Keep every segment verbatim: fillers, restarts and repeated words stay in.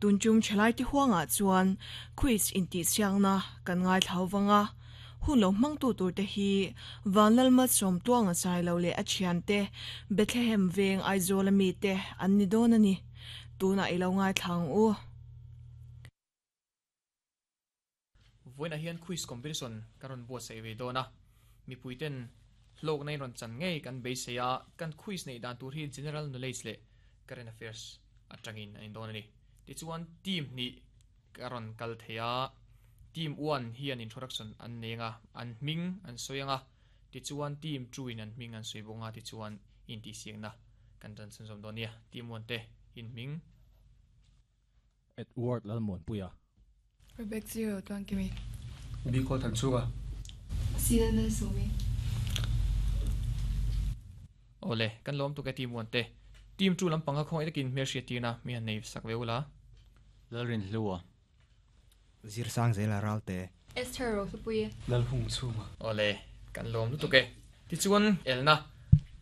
Tunchum chalai ti huanga chuan quiz inti siangna kan ngai thlawanga hun lo mang tu tur te hi vanlalma som tuanga sai lo le a thian te Bethlehem veng Aizawl ami te an ni don ani tuna ilo ngai thlang u. Voina hian quiz competition karon bo sei ve dona mi puiten hlok nei ron chan ngei kan beiseia kan quiz nei dan tur hi general knowledge le current affairs atangin an don ani. Ti chuan team ni karon kal theia team one hian introduction an nenga an ming an soyanga ti chuan team two in an ming an soibonga ti chuan in ti siangna kan tan sanzom donia team one te in ming Edward Lalmon Puya Rebecca Zero tuan kimi Bicol Tan Chunga Silana Sumi. Ole kan lom tu ka team one te team two lampang kha khong itakin mer sia tina mi han nei sak veula Lalrin Hlua Zir sang zela ralte Esther Rosupuye Lalhung Chunga. Ole kan lom lu tu ke ti chuan elna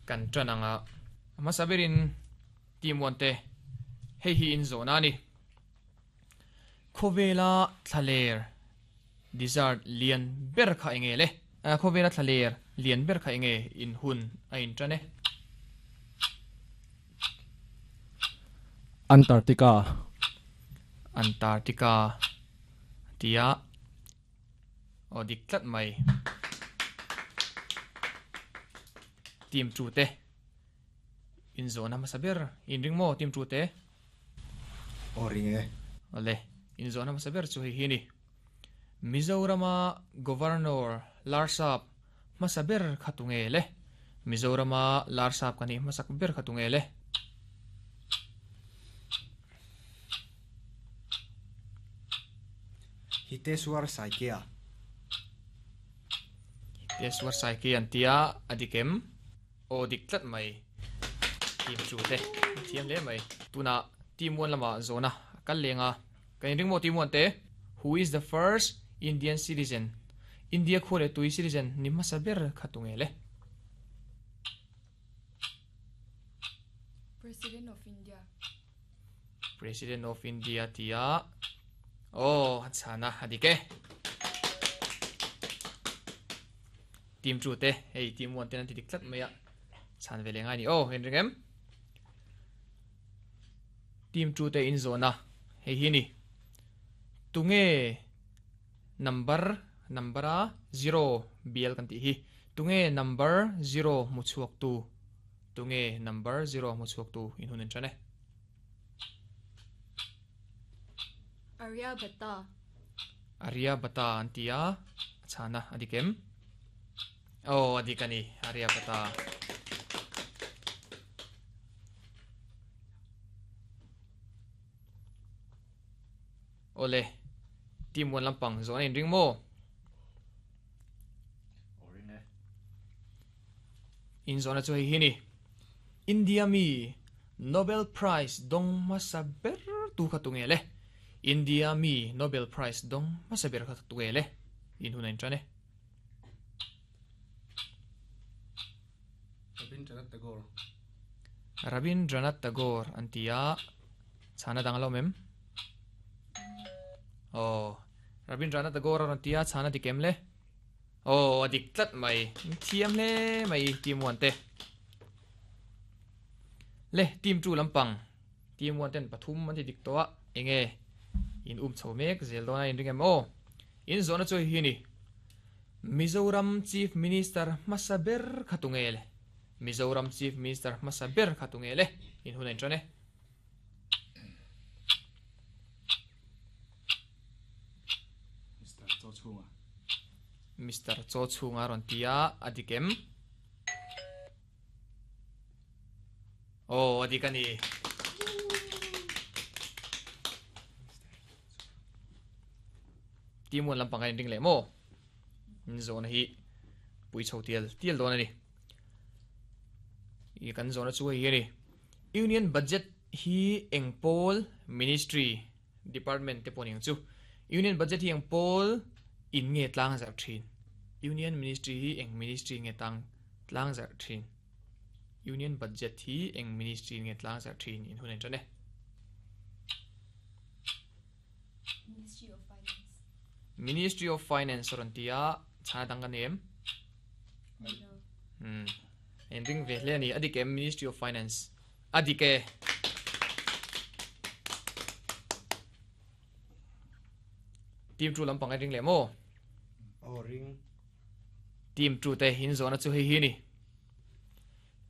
kan trananga ama saberin team one te hei hi in zona ni Khovela thaler desert lian ber kha enge le Khovela thaler lian ber kha enge in hun a in trane. Antarctica. Antarctica tia o diklat mai team two te in zona masaber in ringmo team two te o ringe. Ole in zona masaber chu hi hi ni Mizorama governor Larsap masaber khatunge le Mizorama Larsap kani masak ber khatunge le. Hiteswar Saikia. Hiteswar Saikia antia adikem o diklat mai team chu te thiam le mai tuna team one lama zona kal lenga kan ringmo team one te who is the first Indian citizen India khore tui citizen nimma saber khatunge le. President of India. President of India tia oh chana adike team two te hey team one te nan ti diklat maya chan vele ngai ni oh en ringem team two te in zona hei hi ni tunge number number a zero bial kan ti hi tunge number zero mu chuak tu tunge number zero mu chuak tu in hunin chane. Arya Bhatta. Arya Bhatta antia chana adikem oh adikani Arya Bhatta ole team one lampang zone in ringmo in zone chu hi ni India mi Nobel Prize dong masaber tu khatunge le India mi Nobel Prize dong masaber kha tunge le in hunain chane. Rabindranath Tagore. Rabindranath Tagore antia chana danglo mem oh Rabindranath Tagore antia chana dikem le oh adiklat mai thiam le mai team one te le team two lampang team one ten pathum an ti dik to a enge in um chomek zel dona in ringem o in zona choi hi ni Mizoram Chief Minister masaber khatunge le Mizoram Chief Minister masaber khatunge le in hunain chane. Mister Cho Chunga. Mister Cho Chunga ron tia adikem oh adikani team one lampang in ring le mo in zone hi pui chho tial tial don ani i kan zone chu hi ni union budget hi engpol ministry department te poning chu union budget hi engpol in nge tlang zar thin union ministry hi eng ministry nge tang tlang zar thin union budget hi eng ministry nge tlang zar thin in hunen chane. Ministry of Finance. Ministry of Finance ron tia chana dang kan em hmm ending ve hle ani adike Ministry of Finance adike team two lampang ring le mo o ring team two te hin zona chu hei hi ni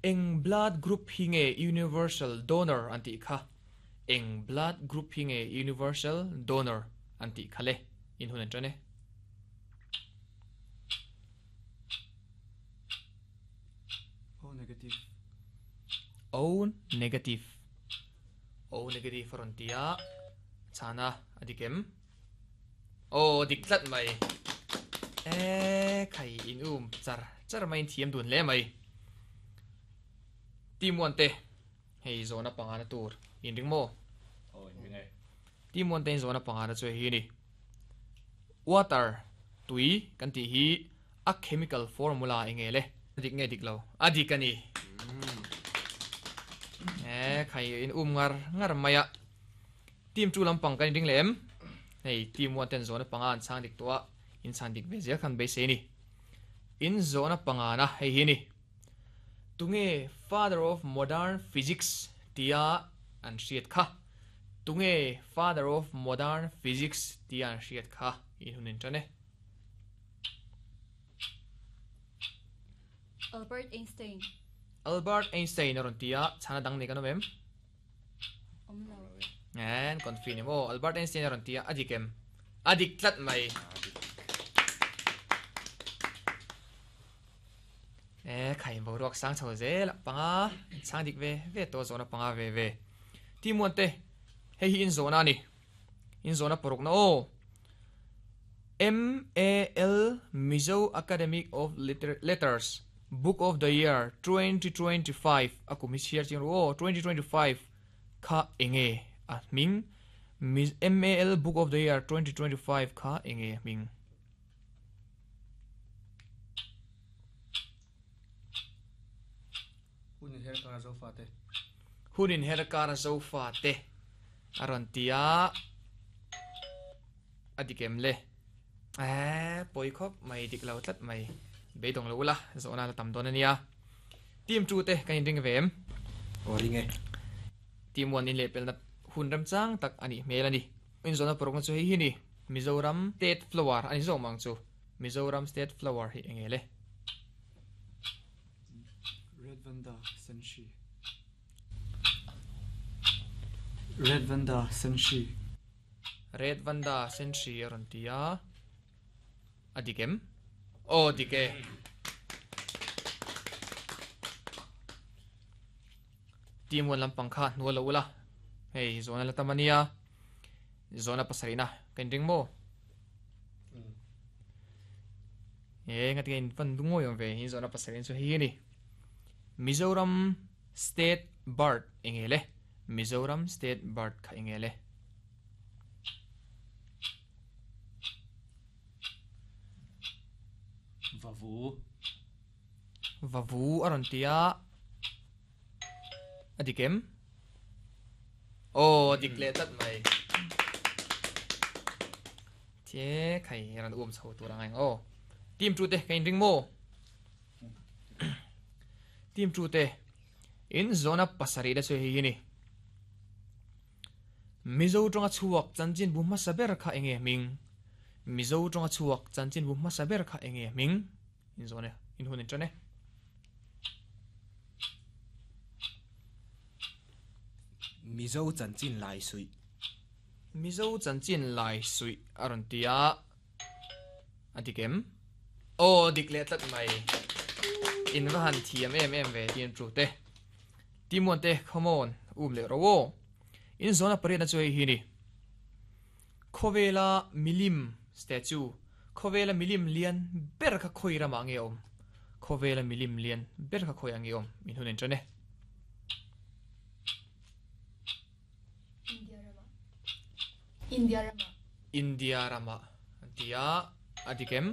eng blood group hi nge universal donor anti kha eng blood group hi nge universal donor anti khale in hun an tane O negative. O negative O negative frontia chana adikem o diklat mai e khai in um char char mai thiam dun le mai team one te hei zona panga na tur in ring mo o in ring e team one te in zona panga na chu hi ni water tui kan ti hi a chemical formula enge le dik nge dik lo adik ani e khai in um ngar ngar maya team two lampang kan ring lem hei team one ten zona panga an chang dik toa in chan dik ve zia khan be se ni in zona panga na hei hi ni tunge father of modern physics tia an hriat kha tunge father of modern physics tia an hriat kha in hunin tane Albert Einstein. Albert Einstein aron tia chana dang nei kanom em Omlo. En confine mo Albert Einstein aron tia adikem adik tlat mai e khai bo ruak sang chho zel panga chang dik ve ve to zona panga ve ve team one te hei hi in zona ni in zona poruk na o M A L Mizo Academic of Liter Letters Book of the Year twenty twenty-five akumi share ching ro twenty twenty-five kha enge a ming M A L Book of the Year twenty twenty-five kha enge ming Hunin her kar zo fa te Hunin her kar zo fa te aron tia adikem le eh poi khop mai dik lo tlat mai beidong lo la zona la tam don ania team two te kan ring vem o ring e team one in le pel na hun ram chang tak ani mel ani in zona porok na chu hei hi ni Mizoram state flower ani zo mang chu Mizoram state flower hi engele Red Vanda Senshi Red Vanda Senshi Red Vanda Senshi aron tia adikem o dike team one lampang kha nuala ula hei zona la tamania zona pasarina kan ring mo e ngati in fan dungo yom ve hi zona pasarin so hi ni Mizoram state bird engele Mizoram state bird kha engele Vavu Vavu aron tia adikem o dikle tat mai che khai ran um chho tur angai o team two te kain ring mo team two te in zona pasari da chu hi ni Mizo tonga chuak chanchin bu ma saber kha enge ming Mizo tonga chuak chanchin bu ma saber kha enge ming in zone in hunin chane Mizo chanchin lai sui Mizo chanchin lai sui aron tia adikem o dikle tlat mai in vahan thiam em em ve team two te team one te come on um le ro in zona pare na choi hi ni khovela milim statue khovela milim lian ber kha khoi rama nge om khovela milim lian ber kha khoi ange om min hunen chane India rama India rama India rama tia adikem